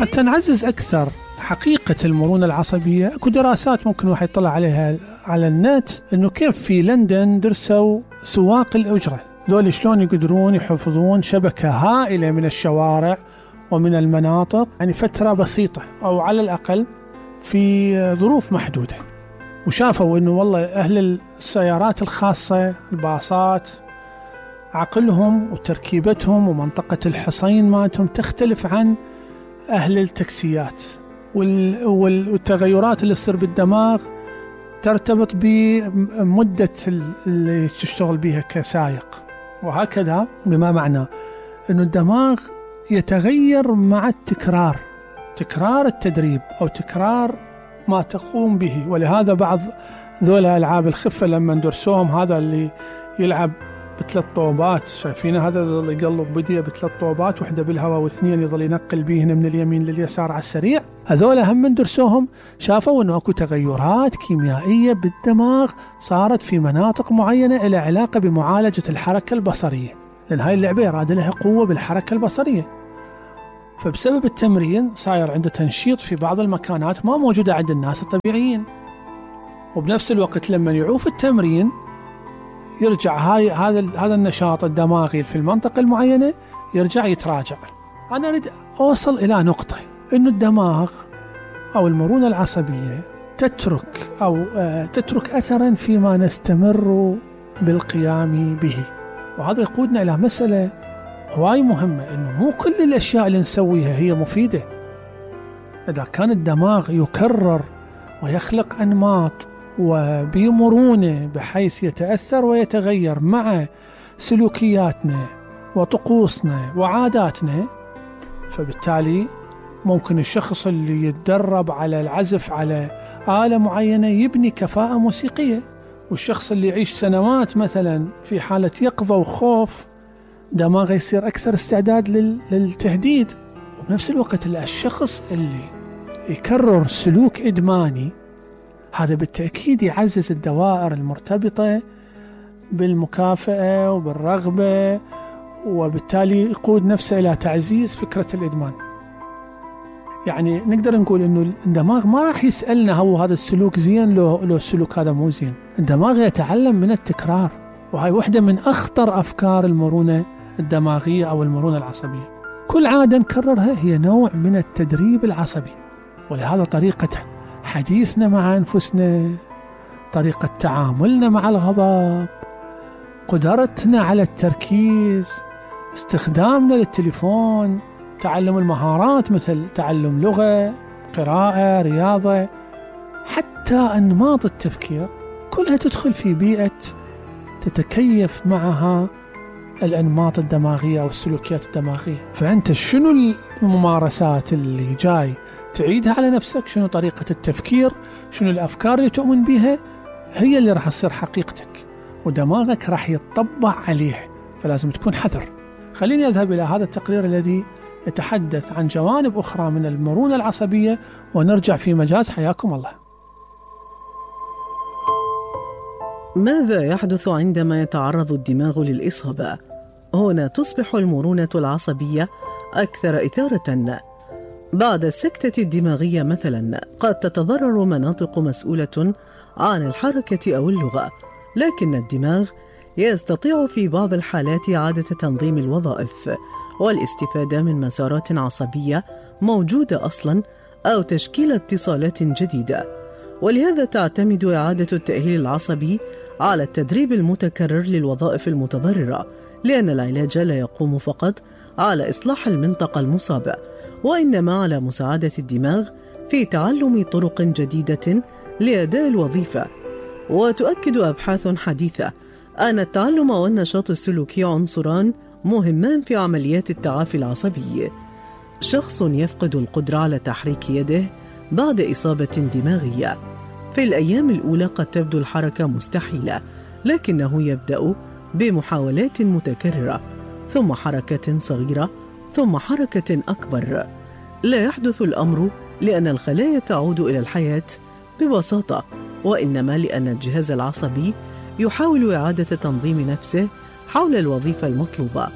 حتى نعزز أكثر حقيقة المرونة العصبية، اكو دراسات ممكن واحد يطلع عليها على النت، انه كيف في لندن درسوا سواق الأجرة ذول شلون يقدرون يحفظون شبكة هائلة من الشوارع ومن المناطق، يعني فترة بسيطة أو على الأقل في ظروف محدودة. وشافوا انه والله أهل السيارات الخاصة الباصات عقلهم وتركيبتهم ومنطقة الحصين مالتهم تختلف عن أهل التاكسيات، والتغيرات اللي تصير بالدماغ ترتبط بمدة اللي تشتغل بها كسائق، وهكذا، بما معنى أنه الدماغ يتغير مع التكرار، تكرار التدريب أو تكرار ما تقوم به. ولهذا بعض ذولا ألعاب الخفة لما ندرسوهم، هذا اللي يلعب بثلاث طوبات، شايفين هذا اللي يقلب بديه بثلاث طوبات، وحده بالهواء واثنين يظل ينقل بيهن من اليمين لليسار على السريع، هذولا هم من درسوهم شافوا انه اكو تغيرات كيميائيه بالدماغ صارت في مناطق معينه لها علاقه بمعالجه الحركه البصريه، لان هاي اللعبه يراد لها قوه بالحركه البصريه، فبسبب التمرين صاير عنده تنشيط في بعض المكانات ما موجوده عند الناس الطبيعيين. وبنفس الوقت لما يعوف التمرين يرجع هذا النشاط الدماغي في المنطقة المعينة يرجع يتراجع. أنا أريد أوصل إلى نقطة إنه الدماغ أو المرونة العصبية تترك أثرا فيما نستمر بالقيام به، وهذا يقودنا إلى مسألة هواي مهمة، إنه مو كل الأشياء اللي نسويها هي مفيدة. إذا كان الدماغ يكرر ويخلق أنماط وبمرونة بحيث يتأثر ويتغير مع سلوكياتنا وطقوسنا وعاداتنا، فبالتالي ممكن الشخص اللي يتدرب على العزف على آلة معينة يبني كفاءة موسيقية، والشخص اللي يعيش سنوات مثلا في حالة يقظة وخوف دماغه يصير أكثر استعداد للتهديد. وبنفس الوقت الشخص اللي يكرر سلوك إدماني هذا بالتأكيد يعزز الدوائر المرتبطة بالمكافأة وبالرغبة، وبالتالي يقود نفسه إلى تعزيز فكرة الإدمان. يعني نقدر نقول إنه الدماغ ما راح يسألنا هو هذا السلوك زين لو السلوك هذا مو زين، الدماغ يتعلم من التكرار، وهي واحدة من أخطر أفكار المرونة الدماغية أو المرونة العصبية. كل عادة نكررها هي نوع من التدريب العصبي، ولهذا طريقة حديثنا مع أنفسنا، طريقة تعاملنا مع الغضب، قدرتنا على التركيز، استخدامنا للتليفون، تعلم المهارات مثل تعلم لغة، قراءة، رياضة، حتى أنماط التفكير كلها تدخل في بيئة تتكيف معها الأنماط الدماغية أو السلوكيات الدماغية. فأنت شنو الممارسات اللي جاي تعيدها على نفسك، شنو طريقة التفكير، شنو الأفكار اللي تؤمن بها، هي اللي راح تصير حقيقتك، ودماغك راح يتطبع عليه، فلازم تكون حذر. خليني أذهب إلى هذا التقرير الذي يتحدث عن جوانب أخرى من المرونة العصبية، ونرجع في مجاز. حياكم الله. ماذا يحدث عندما يتعرض الدماغ للإصابة؟ هنا تصبح المرونة العصبية أكثر إثارة. بعد السكتة الدماغية مثلا قد تتضرر مناطق مسؤولة عن الحركة أو اللغة، لكن الدماغ يستطيع في بعض الحالات إعادة تنظيم الوظائف والاستفادة من مسارات عصبية موجودة أصلا أو تشكيل اتصالات جديدة. ولهذا تعتمد إعادة التأهيل العصبي على التدريب المتكرر للوظائف المتضررة، لأن العلاج لا يقوم فقط على إصلاح المنطقة المصابة، وإنما على مساعدة الدماغ في تعلم طرق جديدة لأداء الوظيفة. وتؤكد أبحاث حديثة أن التعلم والنشاط السلوكي عنصران مهمان في عمليات التعافي العصبي. شخص يفقد القدرة على تحريك يده بعد إصابة دماغية، في الأيام الأولى قد تبدو الحركة مستحيلة، لكنه يبدأ بمحاولات متكررة، ثم حركة صغيرة، ثم حركة أكبر. لا يحدث الأمر لأن الخلايا تعود إلى الحياة ببساطة، وإنما لأن الجهاز العصبي يحاول إعادة تنظيم نفسه حول الوظيفة المطلوبة.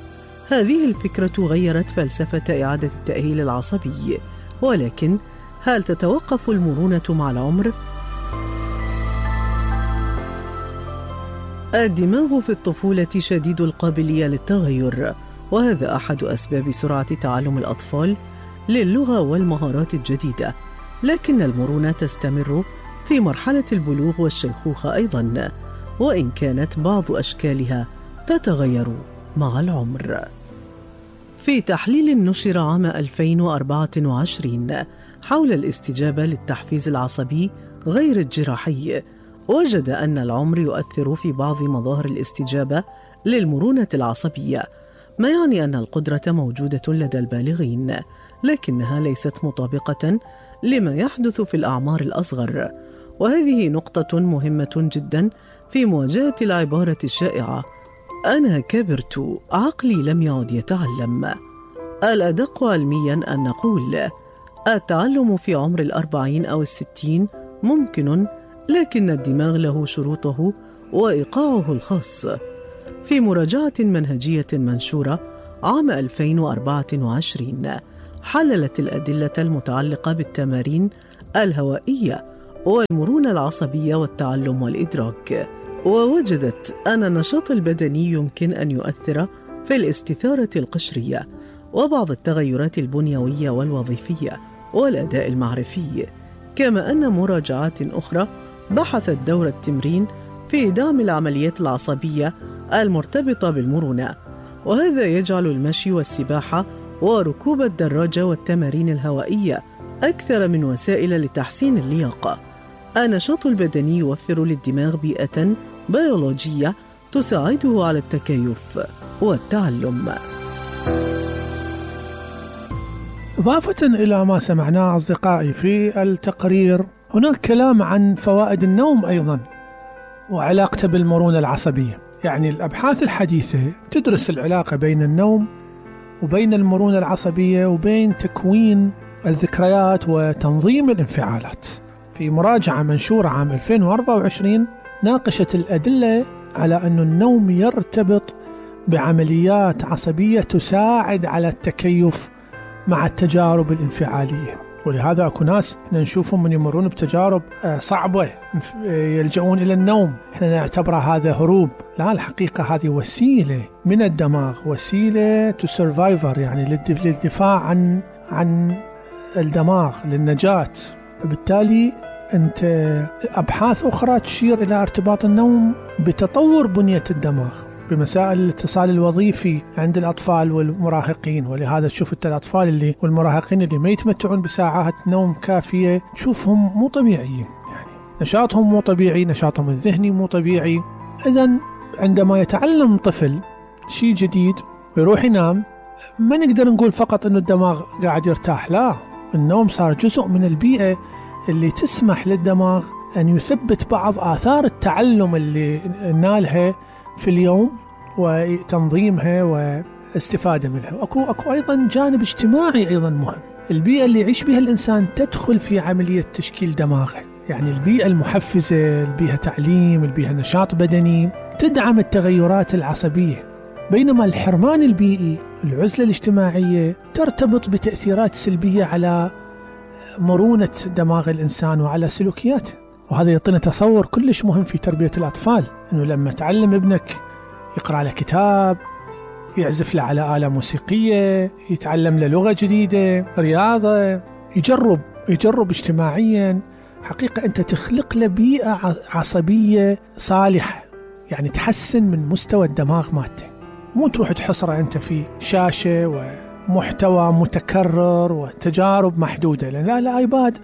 هذه الفكرة غيرت فلسفة إعادة التأهيل العصبي، ولكن هل تتوقف المرونة مع العمر؟ الدماغ في الطفولة شديد القابلية للتغير، وهذا أحد أسباب سرعة تعلم الأطفال للغة والمهارات الجديدة، لكن المرونة تستمر في مرحلة البلوغ والشيخوخة أيضاً، وإن كانت بعض أشكالها تتغير مع العمر. في تحليل نشر عام 2024 حول الاستجابة للتحفيز العصبي غير الجراحي، وجد أن العمر يؤثر في بعض مظاهر الاستجابة للمرونة العصبية، ما يعني أن القدرة موجودة لدى البالغين، لكنها ليست مطابقة لما يحدث في الأعمار الأصغر. وهذه نقطة مهمة جدا في مواجهة العبارة الشائعة أنا كبرت، عقلي لم يعد يتعلم. الأدق علميا أن نقول التعلم في عمر 40 أو 60 ممكن، لكن الدماغ له شروطه وإيقاعه الخاص. في مراجعة منهجية منشورة عام 2024 حللت الأدلة المتعلقة بالتمارين الهوائية والمرونة العصبية والتعلم والإدراك، ووجدت أن النشاط البدني يمكن أن يؤثر في الاستثارة القشرية وبعض التغيرات البنيوية والوظيفية والأداء المعرفي، كما أن مراجعات أخرى بحثت دور التمرين في دعم العمليات العصبية المرتبطة بالمرونة، وهذا يجعل المشي والسباحة وركوب الدراجة والتمارين الهوائية أكثر من وسائل لتحسين اللياقة. النشاط البدني يوفر للدماغ بيئة بيولوجية تساعده على التكيف والتعلم. إضافة إلى ما سمعناه أصدقائي في التقرير، هناك كلام عن فوائد النوم أيضا وعلاقته بالمرونة العصبية. يعني الأبحاث الحديثة تدرس العلاقة بين النوم وبين المرونة العصبية وبين تكوين الذكريات وتنظيم الانفعالات. في مراجعة منشورة عام 2024 ناقشت الأدلة على أن النوم يرتبط بعمليات عصبية تساعد على التكيف مع التجارب الانفعالية، ولهذا أكو ناس نشوفهم من يمرون بتجارب صعبة يلجؤون إلى النوم، احنا نعتبره هذا هروب. لا، الحقيقة هذه وسيلة من الدماغ، وسيلة to survivor، يعني للدفاع عن الدماغ، للنجاة. بالتالي أنت أبحاث أخرى تشير إلى ارتباط النوم بتطور بنية الدماغ، بمسائل الاتصال الوظيفي عند الأطفال والمراهقين. ولهذا تشوف الأطفال والمراهقين اللي ما يتمتعون بساعات نوم كافية تشوفهم مو طبيعيين، يعني نشاطهم مو طبيعي، نشاطهم الذهني مو طبيعي. إذن عندما يتعلم طفل شيء جديد ويروح ينام، ما نقدر نقول فقط أنه الدماغ قاعد يرتاح، لا، النوم صار جزء من البيئة اللي تسمح للدماغ أن يثبت بعض آثار التعلم اللي نالها في اليوم وتنظيمها واستفادة منها. أكو أيضا جانب اجتماعي أيضا مهم. البيئة اللي يعيش بها الإنسان تدخل في عملية تشكيل دماغه، يعني البيئة المحفزة، البيئة تعليم، البيئة نشاط بدني، تدعم التغيرات العصبية، بينما الحرمان البيئي، العزلة الاجتماعية، ترتبط بتأثيرات سلبية على مرونة دماغ الإنسان وعلى سلوكياته. وهذا يعطينا تصور كلش مهم في تربية الأطفال، أنه لما تعلم ابنك يقرأ له كتاب، يعزف له على آلة موسيقية، يتعلم له لغة جديدة، رياضة، يجرب اجتماعيا، حقيقة أنت تخلق له بيئة عصبية صالحة، يعني تحسن من مستوى الدماغ مالته. مو تروح تحصره أنت في شاشة ومحتوى متكرر وتجارب محدودة، لأن لا، الآيباد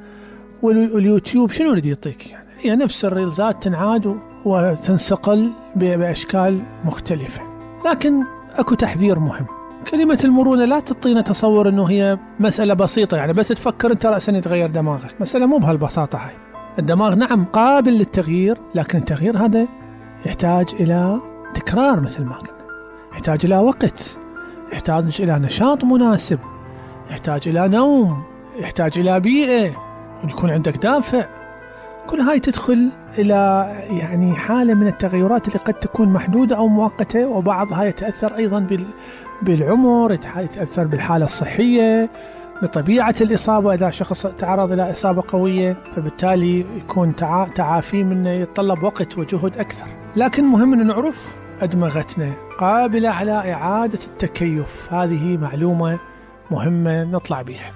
واليوتيوب شنو اللي يعطيك؟ يعني هي نفس الريلزات تنعاد وتنسقل بأشكال مختلفة. لكن أكو تحذير مهم. كلمة المرونة لا تعطينا تصور أنه هي مسألة بسيطة، يعني بس تفكر أنت رأسا يتغير دماغك. مسألة مو بهالبساطة هاي. الدماغ نعم قابل للتغيير، لكن التغيير هذا يحتاج إلى تكرار مثل ما قلنا، يحتاج إلى وقت، يحتاج إلى نشاط مناسب، يحتاج إلى نوم، يحتاج إلى بيئة، ويكون عندك دافع. كل هاي تدخل إلى يعني حالة من التغيرات اللي قد تكون محدودة أو مؤقتة، وبعضها يتأثر أيضا بالعمر، يتأثر بالحالة الصحية بطبيعة الإصابة إذا شخص تعرض إلى إصابة قوية فبالتالي يكون تعافي منه يتطلب وقت وجهد أكثر. لكن مهم أن نعرف أدمغتنا قابلة على إعادة التكيف، هذه معلومة مهمة نطلع بها.